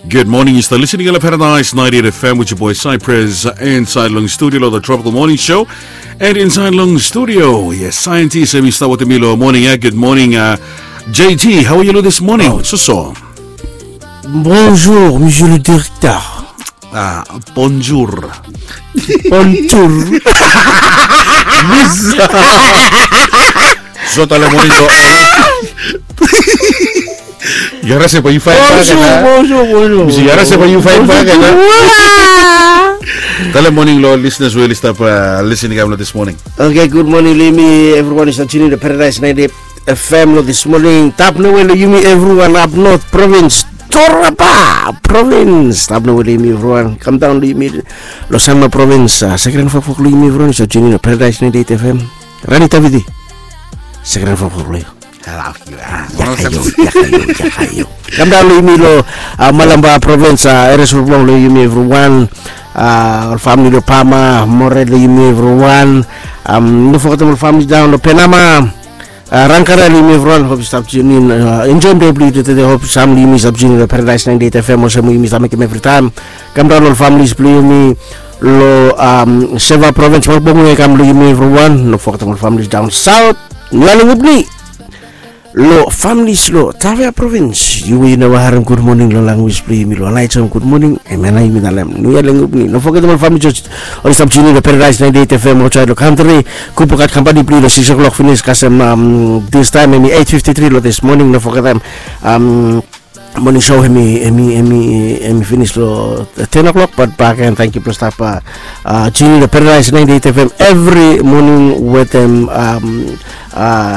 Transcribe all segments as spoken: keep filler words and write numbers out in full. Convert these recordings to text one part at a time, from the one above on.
Good morning, yu stap listening long Paradise ninety-eight F M with your boy Cypress inside long studio long the Tropical Morning Show. And inside long studio, yes, scientist em i stap wetem mi long morning ya. Good morning, uh, J T. How are you this morning? Oh. Soso. Bonjour, monsieur le directeur. Ah, bonjour. Bonjour. So tale morning lo. Yu harase bae yu faen bak. Bonjour, bonjour, bonjour. Yu harase bae yu faen bak. Tale morning lo listeners we oli stap listening kam lo this morning. Okay, good morning lo yumi evriwan i stap tuning in to Paradise ninety-eight F M lo this morning. Tap nowe lo yumi evriwan up north province, Torapa province. Tap nowe lo yumi evriwan. Kam daon lo yumi lo Sanma province, seken fokfok lo yumi evriwan i stap tuning in to Paradise ninety-eight F M. Rani Taviti. Seken fokfok lo yu. Kam daon lo yumi lo Malampa province, Eres Urblong lo yumi evriwan. Ol famili lo Pama, More lo yumi evriwan. No fogetem ol famili daon lo Penama. Rangkara lo yumi evriwan, hop yu stap tuning in. Enjoem dei blo yu tede, hop sam lo yumi stap tuning in lo Paradise ninety-eight F M olsem we yumi stap mekem evritaem. Kam daon lo ol familis blo yumi lo Seva province, Mokbong we kam lo yumi evriwan. No fogetem ol familis daon saot. Nialengupni. Lo familis lo Tavea province, yu we yu neva harem gud moning lo lanwis blo yumi lo Laijom gud moning, hemia nao yumi talem Nialengupni. No fogetem ol familis oli stap tuning in lo Paradise ninety-eight F M aotsaed lo kantri. Kupukat kampani blo yu lo sikis o'clock finis kasem distaem hemi eight fifty-three lo this morning. No fogetem moning show hemi, hemi, hemi, hemi finis lo ten o'clock, bat bakegen tangkiu blo stap tuning in lo Paradise ninety-eight F M evri moning wetem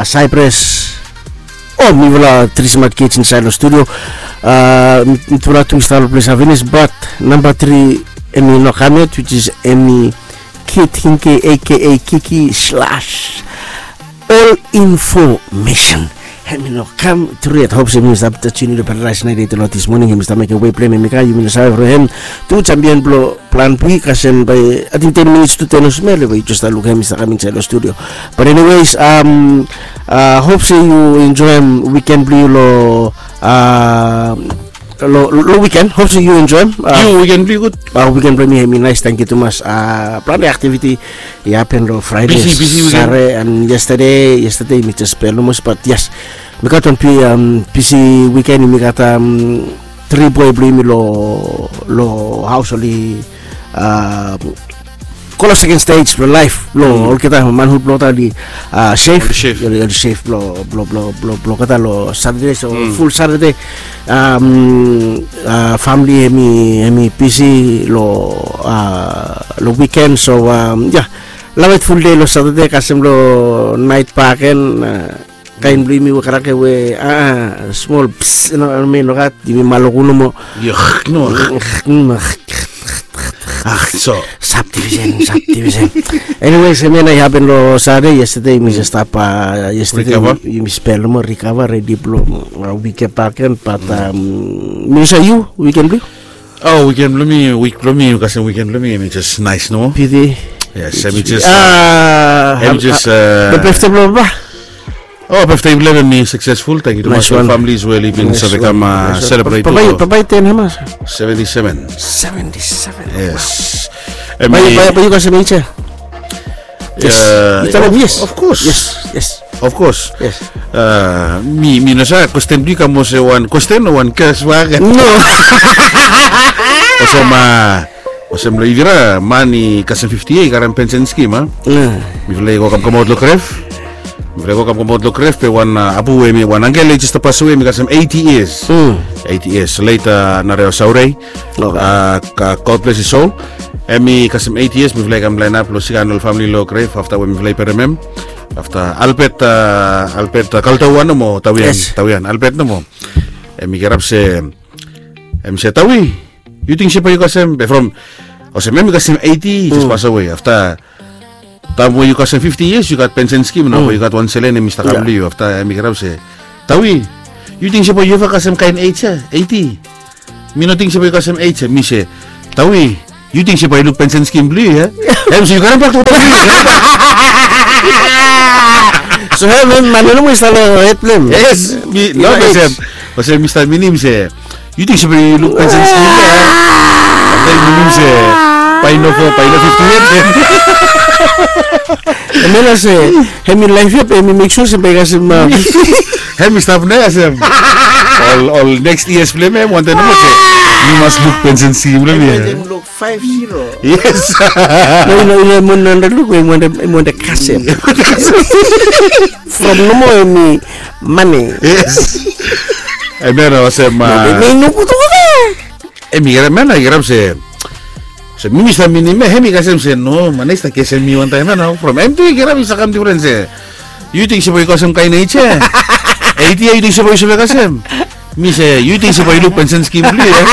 Cypress. O mifala tri smat kids insaed lo studio. Mitufala tu i stap lo ples haf finis, bat namba tri hemi no kam yet, which is hemi Kid Hinke aka Kiki slash All Information. Hemi no kam tru yet. Hop se yumi stap tuning in lo Paradise ninety-eight lo this morning. Hemi stap mekem wei blo hem, hemi kam, yumi no save from hem. Tu champion blo Plan B kasem bae ating ten minits tu ten olsem ya, bae yu jes stap lukim hem i stap kam insaed lo studio. But anyways, hop se yu enjoem weekend blo yu lo, lo weekend. Hop se yu enjoem. Yu weekend blo yu gud? Weekend blo mi hemi naes, tangkiu tumas. Plante aktiviti i hapen lo Fraide, Sare, and yestade. Yestade mi jes pel nomo, bat yes, mi gat wan bisi weekend. Mi gat tri boe blo yumi lo, lo haos, oli go lo second stage blo laef blo olgeta, manhud blo olgeta oli sef. Oli sef blo, blo, blo, blo olgeta lo Satade, so ful Satade. Famili hemi, hemi bisi lo, lo weekend, so ya. Lavet ful dei lo Satade kasem lo naet bakegen. Kaen blo yumi we karaoke we, a, smol ps, no, mi no gat, yumi maloku nomo. Subdivision, subdivision. Anyways, hemia nao i hapen lo Satade. Yestade yumi jes stap, yestade yumi spel nomo, rikava, redi blo wik bakegen, bat mi no save yu, weekend blo yu? O, weekend blo mi, wik blo mi, kasem weekend blo mi hemi jes naes nomo. Piti. Yes, hemi jes, hemi jes, birthday blo papa. O, birthday blo hem hemi successful. Tangkiu tumas ol familis we oli bin save kam celebrate. Papa i ten hamas? Seventy-seven. Seventy-seven. Yes. Bae yu kasem age ya? Yes. Yu talem yes. Of course. Yes, yes. Of course. Yes. Mi, mi no save, kwesten blo yu i kam olsem wan kwesten o wan kes bak? No. Olsem, olsem lo yufala man i kasem fifti yia i karem pensen skim, a? Mifala i go kamkamaot lo grev. Mifala i go kamkamaot lo grev, be wan abu we hemi, wan angkel i jes stap pasowe, hemi kasem eighty years. Eighty years. Late Narewa Saurei. God bless his soul. Hemi kasem eighty years, mifala i kam laenap lo sigan ol famili lo grev afta we mifala i berem hem. Afta Albert, Albert Kaltawa nomo, Tawian, Tawian, Albert nomo. Hemi kirap se, hemi se, Tawi, yu ting se bae yu kasem, be from, olsem hemi kasem eighty, i jes pasowe. Afta taem we yu kasem fifti yias, yu gat pensen skim nao, bae yu gat wan selen hemi stap kam lo yu. Afta hemi kirap se, Tawi, yu ting se bae yu eva kasem kaen ej ya, eighty? Mi no ting se bae yu kasem ej ya. Mi se, Tawi, yu ting se bae yu luk pensen skim blo yu ya? Hem se yu karem bak lo Tawi. So hem, hem man ya nomo i stap lo hed blo hem. Yes, mi no kasem. Olsem mi stap minim se Yu ting se bae yu luk pensen skim ya? Afta yu luk se bae yu no fo, bae yu no fifti yet. Hemia se hemi laef ya, hemi mek sua se bae i kasem. Hemi stap nao ya se ol neks yias blong hem, hem wantem nomo se yu mas luk pensen skim blong hem ya. Five zero. Yes. No, no, no, em wantem luk, em wantem kasem. From nomo hemi mane. Yes. Hemia nao olsem. Hemi kirap, hemia nao kirap se, se mi mi stap minim ya, hemi kasem se no, mane i stap kesem mi wantaem ya nao. From hem tu i kirap i stap kam difren se, yu ting se bae yu kasem kaen neja? Eit ya, yu ting se bae yu save kasem? Mi se, yu ting se bae yu luk pensen skim blong yu ya?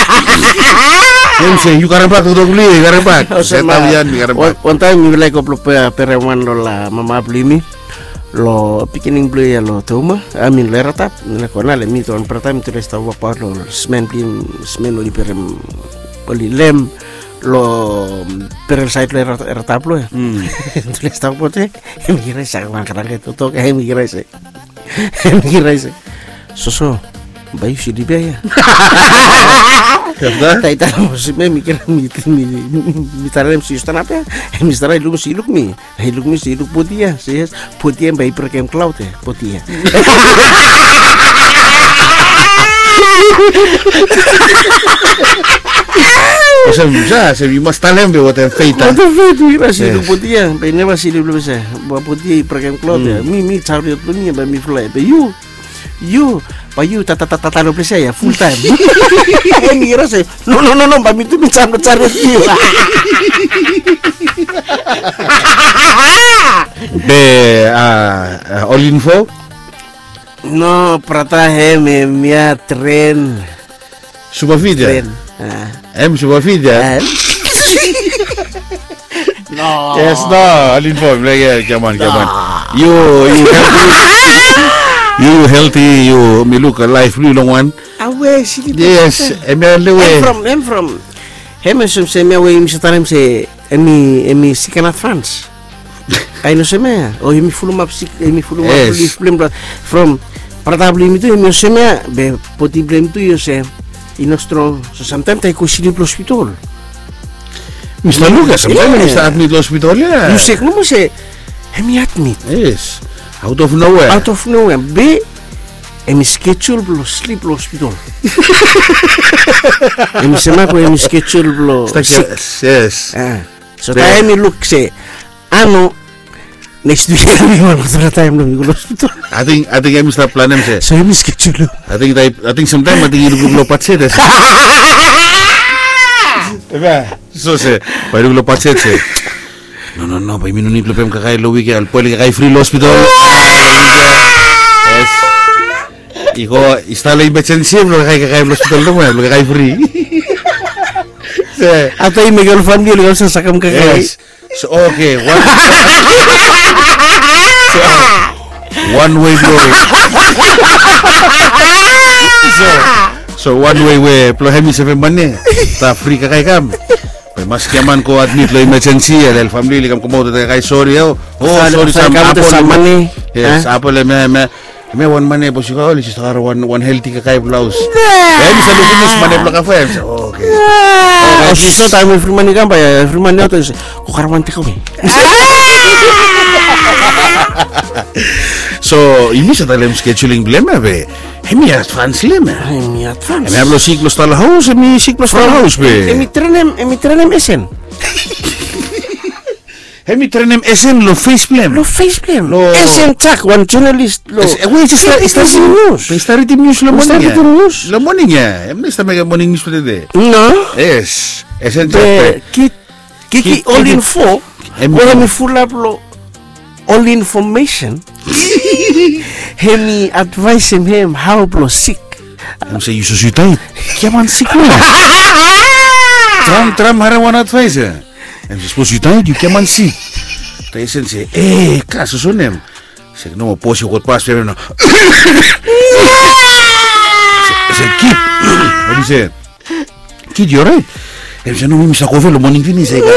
Hem se, yu karem bak toktok blong yu ya, yu karem bak. Olsem ya, mi karem bak. Wantaem mi laek go blong perem wan lo mama blong yumi lo pikinini blong yu ya lo Toma, I mean lo Eratap. Mi laek go nao, le mi tu wan brata, mi tu laek stap wokbaot lo smen blong yumi, smen oli berem, oli lem lo berel saed lo Eratap lo ya. Tu laek stap wokbaot ya. Hemi kirap se, wan karang toktok, hemi kirap se, hemi kirap se, soso, bae yu slip ya ya? Afta? Taem i talem olsem ya, mi kirap, mi talem se yu stanap ya. Hemi stanap, i luk mi se, i luk mi, i luk mi se i luk poti ya. Se yes, poti ya bae i brekem klaod ya, poti ya. Olsem ya, se yu mas talem be wantem fet ya. Wantem fet, mi kirap se i luk poti ya bae i neva slip lo ples ya. Bae poti ya i brekem klaod ya. Mi, mi jariot blong mi ya bae mi flae, be yu, yu, bae yu tata, tata, tata lo ples ya ya fultaem. Hemi kirap se, no, no, no, no, bae mi tu mi jamp lo jariot blong yu. Be, a, a, ol info? No, brata, hem, hemia tren. Superfit ya? Tren. Hem superfit ya? No. Yes, no, ol info, like, yeah, come on, come on. Yu, yu healthy. Yu healthy, yu, mi luk laef blong yu long wan. Awe, slip. Yes, hemia lewe. Hem from, hem from. Hem olsem se hemia we yumi save talem se hemi, hemi sik in advance. Kaen olsem ya, o hemi fulumap sik, hemi fulumap lif blong hem, from brata blong yumi tu hemi olsem ya, be poti blong hem tu i olsem, i no strong. So samtaem taem i go slip lo hospital. Mi stap luk ya, samtaem hemi stap admit lo hospital ya. Yu sek nomo se hemi admit. Yes. Out of nowhere. Out of nowhere. Be hemi schedule blo slip lo hospital. Hemi save maet we hemi schedule blo sik. Yes. So taem i luk se, a no, neks wik hemi wan moa taem blo mi go lo hospital. Ating, ating hemi stap planem se, so hemi schedule. Ating, ating samtaem ating i lukluk lo bajet se, so se bae i luk lo bajet se, no, no, no, bae yumi no nid blo pem kakae lo wik ya, bae oli kakae fri lo hospital. Yes. I go, i stap lo emergency blo kakae, kakae lo hospital nomo ya, blo kakae fri. Afta i mekem ol famili oli kam sakem kakae. Yes. So, okay, wan, so, wan wei blo, so, so wan wei we blo hemi sevem mane, afta fri kakae i kam, be maski a man go admit lo emergency ya, le ol famili oli kam komaot wetem kakae sori ya, o, sori, sam apol. Yes, apol, hemia, hemia. Hemia wan mane bos i go, oli stap harem wan, wan helti kakae blo haos. Hemi save lukim se mane blo kakae, hemi se, o, okay. Olsem taem evri mane i kam, bae evri mane i aot, se go karem wan tekawe. So yumi save talem scheduling blo hem ya, be hemi advance lo hem ya. Hemi advance. Hemia blo sik lo stap lo haos, hemi sik lo stap lo haos be hemi trenem, hemi trenem Esen. Hemi trenem Esen lo fes blo hem. Lo fes blo hem. Esen Jack, wan jonalis lo, we i stap ridim nius. Be i stap ridim nius lo moning ya. Lo moning ya. Hemi stap mekem moning nius blo tede. No. Yes. Esen Jack. Be kid, kiki ol info we hemi fulap lo ol infomesen. Hemi advaesem hem hao blo sik. Hemi se, yu sose yu taet, yu giaman sik nao. Traem, traem harem wan advaes ya. Hemi se, sapos yu taet, yu giaman sik. Taem Esen se, e, kas, soso nem. Se, no, bos, yu gat pas blo hem nao. Se, kid, hemi se, kid, yu oraet? Hemi se, no, mi save go ove lo moning finis, e, kas.